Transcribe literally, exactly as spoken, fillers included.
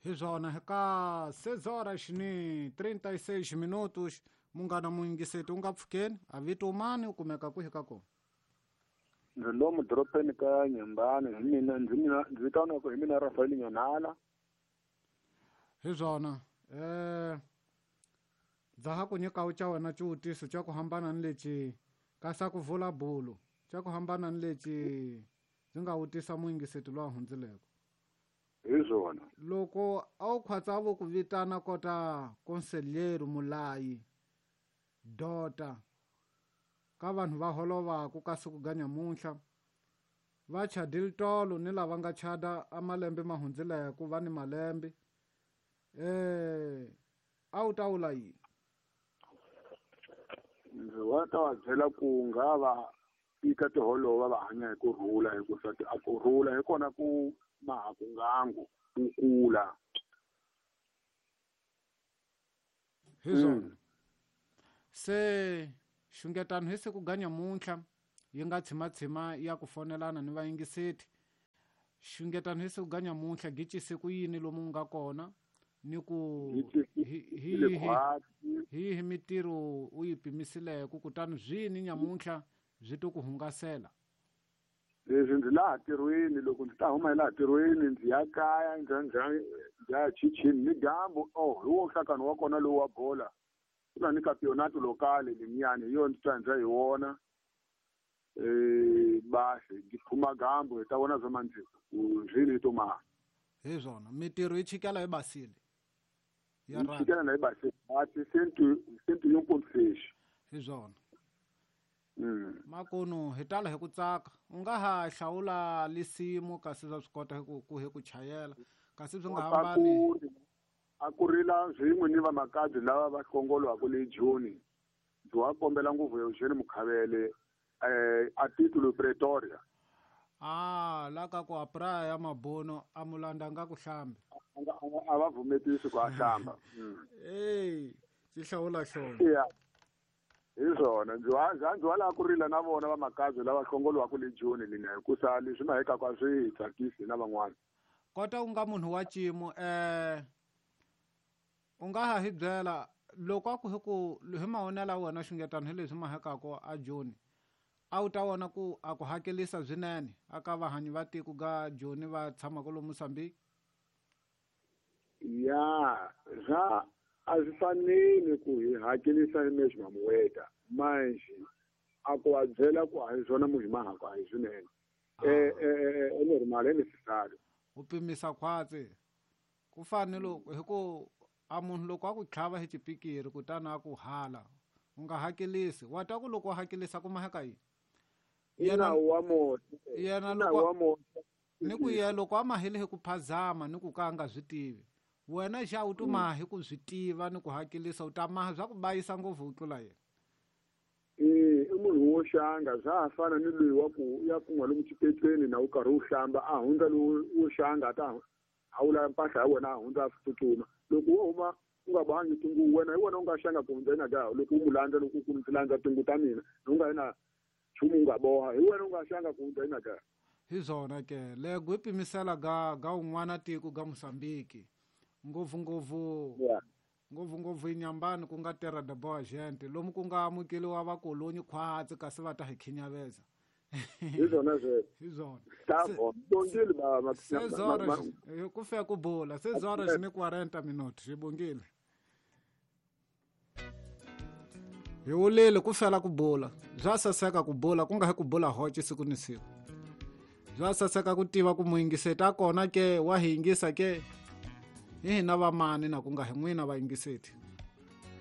Hi swona ka seis horas ni trinta e seis minutos munghana muyingiseti u nga pfukeni a vito mani u kumeka kwihi ka kona? Ndzi lomu doropeni ka Nyembani, hi mina ndzi mina ndzi vitaniwa hi mina Rafael Nyanala. Hi swona eh dza ha ku nyika u ca wena xivutiso xa ku hambana ni lexi ka sa ku vula bulu xa ku hambana ni lexi ndzi nga vutisa muyingiseti loyi a hundzileko. Hi swona. Loko a wu khwatsa vo ku vitana kota conselheiro mulayi dota ka vanhu va holovaku ka siku ga nyamuntlha va chadile tolo ni lava nga chada a malembe ma hundzileko va ni malembe eh a wu ta vula yini? Ndzi wa ta va byela ku nga va ika tiholova va hanya hi ku rhula, hikusa a ku rhula hi kona ku maha ku ngangu ku kula. Hi swona. Se xungetano hi siku ga nyamuntlha yi nga tshimatshima ya ku fonelana ni vayingiseti. Xungetano hi siku ga nyamuntlha gicise ku yini lomu nga kona ni ku hi hi hi hi mitirho u yi pimisileko kutani swini nyamuntlha byi to ku hungasela? Leswi ndzi laha tirhweni, loko ndzi ta huma hi laha tirhweni ndzi ya kaya ndzi ndzi ya chichini ni dyambu. Oh, hi wo nhlakano wa kona lowu wa bola ku na ni campeonato locale lemiyani hi yona ndzi ta ndza hi wona. Eh basi ndzi phuma gambo hi ta vona swa mandziko ku zvini to maha. Hi swona mitirho yi chikela hi basile ya ra chikela na hi basile ati cento cento e um ponto seis. Hi swona. Mm. Makunu hi tala hi ku tsaka u nga ha hlawula lisimu kasi swa swi kota ku ku hi ku chayela kasi swi nga hambani. A ku rila swin'we ni vamakabye lava va hlongolwaka le Joni. Ndzi wa kombela ngopfu Eugene Mukhavele eh a titulo Pretoria. Ah, la ka ku a praia ya mabono a mulanda nga ku hlambi. A va vumetisi ku a hlamba. Ey, xi hlawula xona. Yeah. Hi swona ndzi wa ndzi wa lava ku rila na vona vamakabye lava hlongolwaka le Joni lina hikusa leswi mahekaka a swi hi tsakisi na van'wana. Kota u nga munhu wa cimo eh u nga ha hi byela loko a ku hi ku hi mavonelo ya wena xungetano hi leswi mahekaka a Joni a wu ta vona ku a ku hakelisa swinene aka vahanyi va tiko ga Joni va tshamaka lomu Mozambique? Ya swa a swi fanele ku hi hakelisa hi mesmo moeda manje a ku va byela ku a hi swona munhu mahaka a hi swinene. Eh eh é normal, é necessário. U pimisa khwatsi ku fana loko hi ku a munhu loko a ku tlhava hi xipikiri kutani a ku hala u nga hakelisi wa ta ku loko u hakelisa ku maheka yini? Yena wa moya yena loko ni ku yena loko a mahile hi ku phazama ni ku ka a nga swi tivi wena xa u tuma hi ku swi tiva ni ku hakelisa u ta maha swa ku bayisa ngopfu ku tlula yena. Eh i munhu wo xanga swa ha fana ni loyi wa ku ya kun'wa lomu xipecweni na u karhi u hlamba a hundza lowu wo xanga a ta hawula mpahla ya wena a hundza a tsutsuma. Loko wo huma u nga bohangi tinguvu wena hi wena u nga xanga ku hundza yena ka loko u mu landza loko ku ndzi landza tinguvu ta mina u nga yena nchumu u nga boha hi wena u nga xanga ku hundza yena ka. Hi swona ke lego i pimisela ga ga un'wana tiko ga Mozambique ngopfu ngopfu ngopfu ngopfu inyambani ku nga terra da boa gente lomu ku nga amukeliwa vakolonyi khwatsi kasi va ta hi khinyaveza. Hi swona sweswo. Hi swona. Ta bongile ba seis horas ku fika ku bula seis horas ni quarenta minutos hi bongile. Hi wulile ku fela ku bula bya saseka ku bula ku nga hi ku bula hoci siku ni siku bya saseka ku tiva ku muyingiseti a kona ke wa hi yingisa ke hi hina vamani na ku nga hi n'wina vayingiseti.